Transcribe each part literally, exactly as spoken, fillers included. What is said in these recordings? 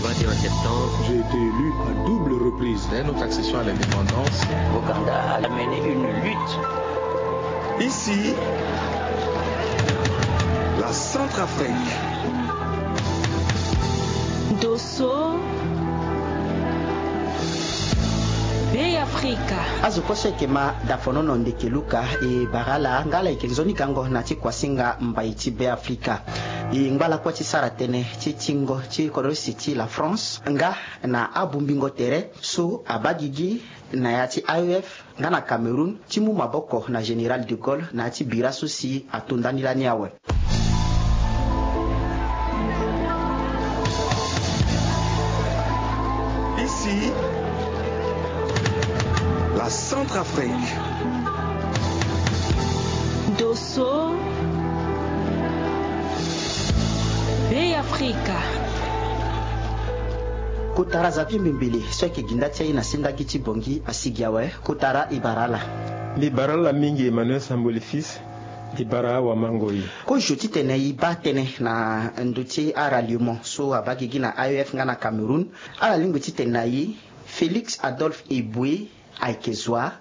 Vingt et un septembre, j'ai été élu à double reprise. Dès notre accession à l'indépendance, Ouganda a mené une lutte. Ici, la Centrafrique. Dosso, Bey Afrika. Azo kue so ayeke ma dafonono ndeke luka e bara ala nga ala yeke nzoni gango na ti kuasinga mbai ti Bey Afrika. E ngba lakue ti sara tënë ti tingo ti kodro si ti la France nga na abungbingo tere so abaa gigi na ya ti A E F nga na Cameroun ti mu maboko na Général de Gaulle na ya ti bira so si ato ndani lani awe. Ici, la Centrafrique. Dosso, Bey Afrika. Kotara Xavier Mbembele so ayeke gi nda ti aye na sendagi ti Bangui asigi awe. Kotara e bara ala. Mbi bara ala mingi Emmanuel Samboli Fils. Mbi bara awamango e. Kozo titene e baa tënë na ndö ti aralliement so abaa gigi na A E F nga na Cameroun. Ala lingbi titene na e Félix Adolphe Éboué ayeke zo wa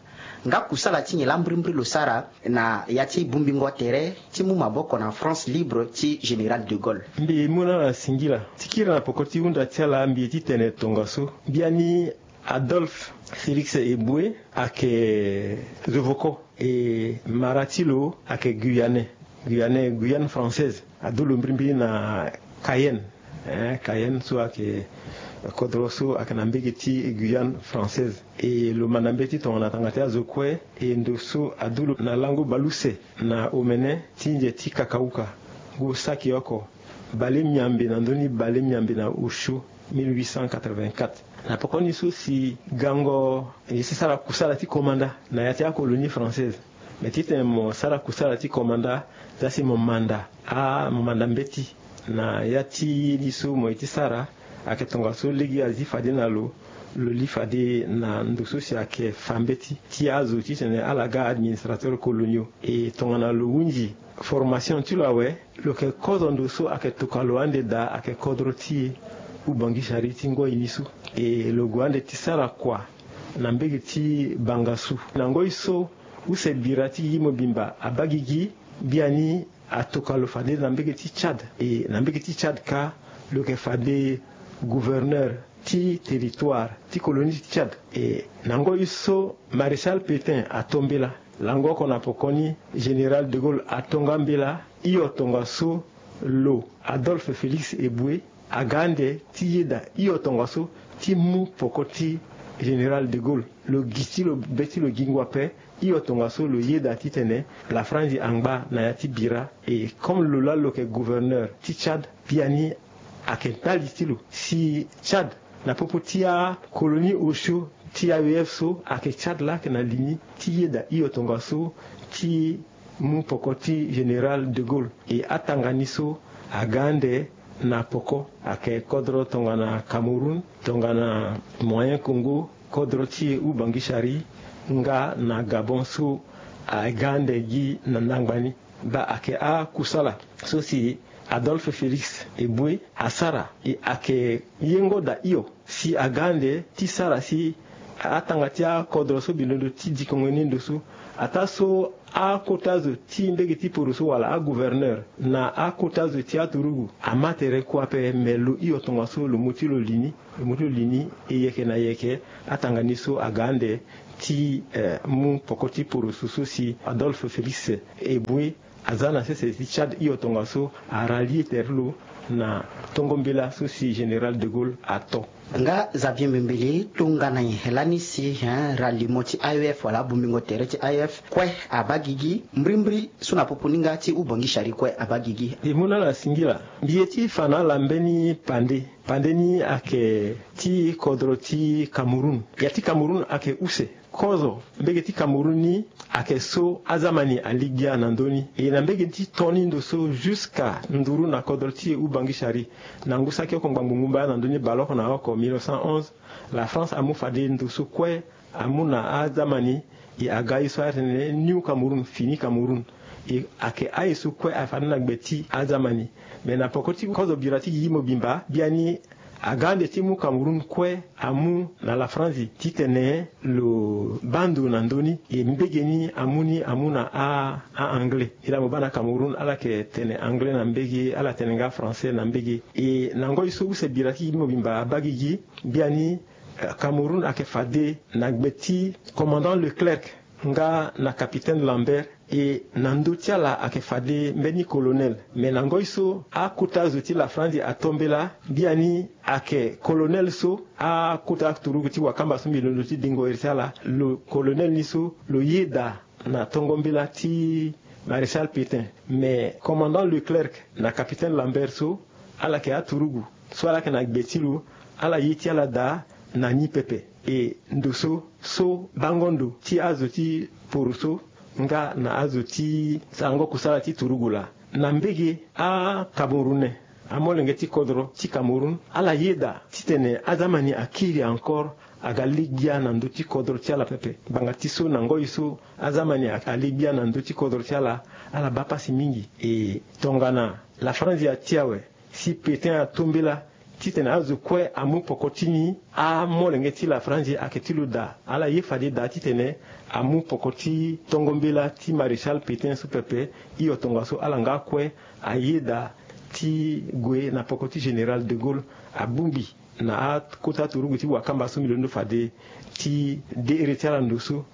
nga kusala ti nyen laa mbirimbiri lo sara na ya ti bungbingo tere ti mu maboko na France libre ti Général de Gaulle. Mbi mu na ala singila ti kiri na poko ti hunda ti ala mbi ye titene tongaso. Biani Adolphe Félix Éboué ayeke zo voko. E mara ti lo ayeke Guyanais. Guyanais, Guyane française. Adu lo mbirimbiri na Cayenne. Eh, Cayenne so ayeke kodro so ayeke na mbege ti Guyane française. E lo manda mbeti tongana tanga ti azo kue. E ndo so adu lo na lango baleuse na omene ti nze ti Kakauka. Ngu saki oko bale miambe na ndö ni bale miambe na osio mille huit cent quatre-vingt-quatre. Na poko ni so si gango e si sara kusala ti komanda na ya ti acolonie française. Me titene mo sara kusala ti komanda, za si mo manda a mo manda mbeti na ya ti ye ni so mo ye ti sara. Ayeke tongaso lege azi fade na lo, lo li fade na ndo so si ayeke fa mbeti ti azo titene ala ga administrateur coloniaux. E tongana lo hunzi formation ti lo awe, lo yeke kozo ndo so ayeke tokua lo ande daa ayeke kodro ti e Oubangui Chari ti ngoi ni so. E lo gue ande ti sara kua na mbege ti Bangassou. Na ngoi so use bira ti gigi mobimba abaa gigi, biani atokua lo fade na mbege ti Tchad. E na mbege ti Tchad kâ, lo yeke fade gouverneur ti territoire ti colonie ti Tchad. E na ngoi so Maréchal Pétain ato mbela, lango oko na poko ni Général de Gaulle ato nga mbela, hio tongaso lo Adolphe Félix Éboué aga ande ti yeda hio tongaso ti mu poko ti Général de Gaulle. Lo gi ti lo be ti lo gi ngu ape. Hio tongaso lo yeda titene la France angba na ya ti bira. E comme lo laa lo yeke gouverneur ti Tchad, biani ayeke ndali ti lo si Tchad na popo ti acolonie osio ti A E F so ayeke Tchad laa ayeke na li ni ti yeda hio tongaso ti mu poko ti Général de Gaulle. E atanga ni so aga ande na poko ayeke kodro tongana Cameroun, tongana Moyen Congo, kodro ti Oubangui Chari nga na Gabon so aga ande gi na ndangba ni. Baa ayeke akusala so si Adolphe Félix Éboué asara, e ayeke yengo daa hio si aga ande ti sara si atanga ti akodro so mbi londo ti dikongo ni ndo so, ataa so akota zo ti mbege ti poro so wala agouverneur na akota zo ti aturugu ama tere kue ape. Me lo hio tongaso lo mu ti lo li ni, lo mu ti lo li ni. E yeke na yeke atanga ni so aga ande ti, eh, mu poko ti poroso so si Adolphe Félix Éboué aza na sese ti Tchad hio tongaso arallier tere lo na tongo mbela so si Général de Gaulle ato. Nga Xavier Mbembele, tongana nyen lani si, hein, ralliement ti A E F wala abungbingo tere ti A E F kue abaa gigi, mbirimbiri so na popo ni nga ti Oubangui Chari kue abaa gigi? Mbi mu na ala singila. Mbi ye ti fa na ala mbeni pande. Pande ni ayeke ti kodro ti Cameroun. Ya ti Cameroun ayeke use. Kozo mbege ti Cameroun ni ayeke so azamani aligbia na ndö ni. E na mbege ti to ni ndo so jusqu'à nduru na kodro ti e Oubangui Chari, na ngu saki oko ngbangbo ngu mbaya na ndö ni baleoko na oko mille neuf cent onze, la France amu fade ndo so kue amu na azamani. E aga ye so atene New Cameroun, fini Cameroun. E ayeke aye so kue afade na gbe ti azamani. Me na poko ti kozo bira ti gigi mobimba, biani Aga ande ti mu Cameroun kue amu na la Franzi titene lo baa ndo na ndö ni. E mbege ni amu ni amu na a, a-anglais. Ila mo baa na Cameroun ala yeke tene anglais na mbege, ala tene nga français na mbege. E na ngoi so use bira ti gi mobimba abaa gigi, biani, eh, Cameroun ayeke fade na gbe ti commandant Leclerc nga na capitaine Lambert. E na ndö ti ala ayeke fade mbeni colonel. Me na ngoi so akota zo ti la Franzi ato mbela, biani ayeke colonel so akota turugu ti wakamba so mbi londo ti dingo iri ti ala. Lo colonel ni so lo yeda na tongo mbela ti Maréchal Pétain. Me commandant Leclerc na capitaine Lambert so, ala yeke aturugu so ala yeke na gbe ti lo, ala ye ti ala daa na ni pepe. E ndo so, so bango ndo ti azo ti poro so nga na azo ti sarango kusala ti turugu laa. Na mbege, aCamerounais, amolenge ti kodro ti Cameroun, ala yeda titene azamani akiri encore aga li gbia na ndö ti kodro ti ala pepe. Ngbanga ti so na ngoi so azamani a, ali gbia na ndö ti kodro ti ala, ala baa pasi mingi. E tongana la Franzi ati awe, si Pétain ato mbela titene azo kue amu poko ti ni, amolenge ti la Franzi ayeke ti lo daa. Ala ye fade daa titene amu poko ti tongo mbela ti Maréchal Pétain so pepe. Hio tongaso ala nga kue ayeda ti gue na poko ti Général de Gaulle, abongbi na akota turugu ti wakamba so mbi londo fade ti de ere ti ala ndo so.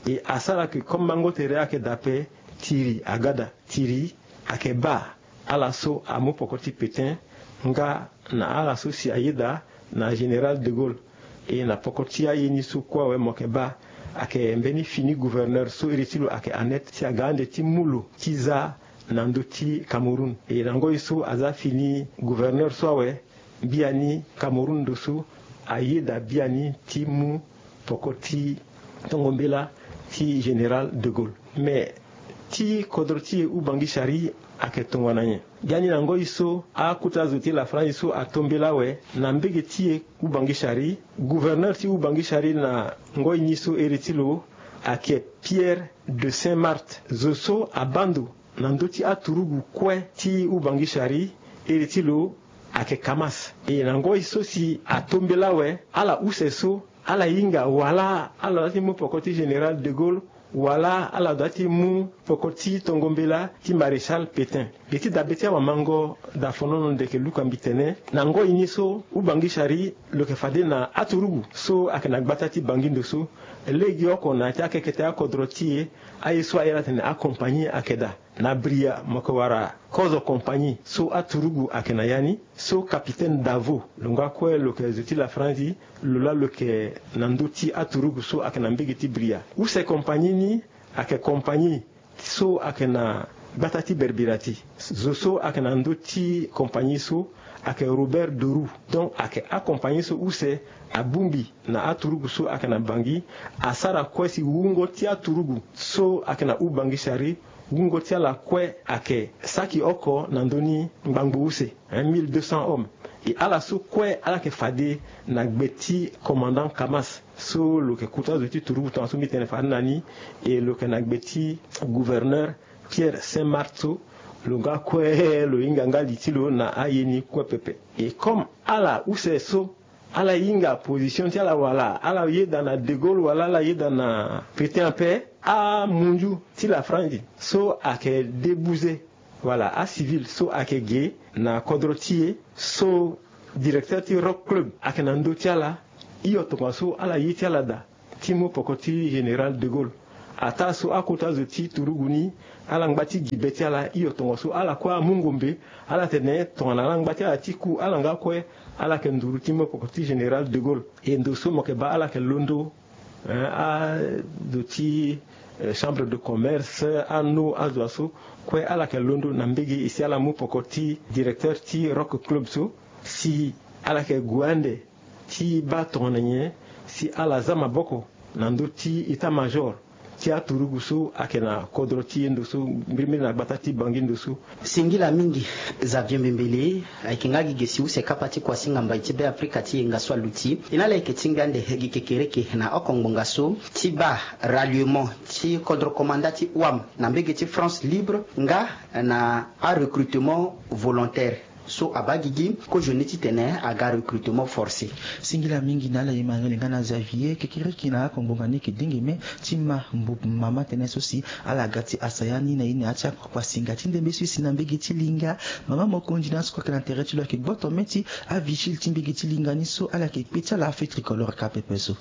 E asara ke comme mango tere ayeke daa ape, tiri aga daa, tiri ayeke baa ala so amu poko ti Pétain nga na ala so si ayeda na Général de Gaulle. E na poko ti aye ni so kue awe mo yeke baa, ayeke mbeni fini gouverneur so iri ti lo ayeke Annette, si aga ande ti mu lo ti za na ndö ti Cameroun. E na ngoi so aza fini gouverneur so awe, biani Cameroun ndo so ayeda biani ti mu poko ti tongo mbela ti Général de Gaulle. Me ti kodro ti e Ubangi-Chari ayeke tongana nyen? Biani na ngoi so akota zo ti la Franzi so ato mbela awe, na mbege ti e Ubangi-Chari, gouverneur ti Ubangi-Chari na ngoi ni so ere ti lo ayeke Pierre de Saint-Marthe. Zo so abaa ndo na ndö ti aturugu kue ti Ubangi-Chari, ere ti lo ayeke Kamas. E na ngoi so si ato mbela awe, ala use so ala hinga wala ala dua ti mu poko ti Général de Gaulle, wala ala dua ti mu poko ti tongo mbela ti Maréchal Pétain. Mbi ti dabe ti awamango daa fonono ndeke luka mbi tene, na ngoi ni so Ubangi-Chari lo yeke fade na aturugu so ayeke na gbata ti Bangui ndo so. Legeoko na ya ti akekete akodro ti e, aye so aye ala tene acompagnie ayeke daa. Na Bria mo yeke wara kozo compagnie so aturugu ayeke na ya ni, so capitaine Davo lo nga kue lo yeke zo ti la Franzi, lo laa lo yeke na ndö ti aturugu so ayeke na mbege ti Bria. Use compagnie ni ayeke compagnie so ayeke na gbata ti Berbirati. Zo so ayeke na ndö ti compagnie so ayeke Robert Deroux. Donc ayeke acompagnie so use abongbi na aturugu so ayeke na Bangui, asara kue si wungo ti aturugu so ayeke na Ubangi-Chari, wungo ti ala kue ayeke saki oko na ndö ni ngbangbo use, hein, mille deux cents hommes. E ala so kue ala yeke fade na gbe ti commandant Kamas so lo yeke kota zo ti turugu tongaso mbi tene fade na ni. E lo yeke na gbe ti gouverneur Pierre Saint-Marthe so, lo nga kue lo hinga nga li ti lo na aye ni kue pepe. E comme ala use so ala hinga position ti ala wala ala yeda na De Gaulle wala ala yeda na Pétain ape, amunzu ti la Franzi so ayeke debuze, wala acivil so ayeke ge na kodro ti e, so directeur ti Rock Club ayeke na ndö ti ala. Hio tongaso ala ye ti ala daa ti mu poko ti Général de Gaulle. Ataa so akota zo ti turugu ni ala ngba ti gi be ti ala. Hio tongaso ala kue amu ngombe, ala tene tongana ala ngba ti ala ti ku, ala nga kue ala yeke nduru ti mu poko ti Général de Gaulle. E ndo so mo yeke baa ala yeke londo, hein, azo ti, eh, chambre de commerce, ano azo aso kue ala yeke londo na mbege e si ala mu poko ti directeur ti Rock Club so, si ala yeke gue ande ti baa tongana nyen si ala za maboko na ndö ti état-major ti aturugu so ayeke na kodro ti e ndo so, mbirimbiri na gbata ti Bangui ndo so. Singila mingi, Xavier Mbembele. Ayeke nga gi ge si use kapa ti kuasinga mbai ti Be Afrika ti yenga so aluti. E na ala yeke tingbi ande gi kekereke na oko ngbonga so ti baa ralliement ti kodro komanda ti wam na mbege ti France Libre nga na arecrutement volontaire. So abaa gigi kozo ni titene aga recrutement forcé. Singila mingi na ala ye ma yele nga na Xavier kekereke na ako ngbonga ni yeke dengeme ti ma mbu mama tënë so si ala ga ti asaya ni na ye na ya ti akpakpa singa ti ndembe so e si na mbege ti linga. Mama mokonzi na soko ayeke na tere ti lo ayeke gboto mê ti avigile ti mbege ti linga ni so ala yeke kpe ti ala afe tricolore ka pepe so.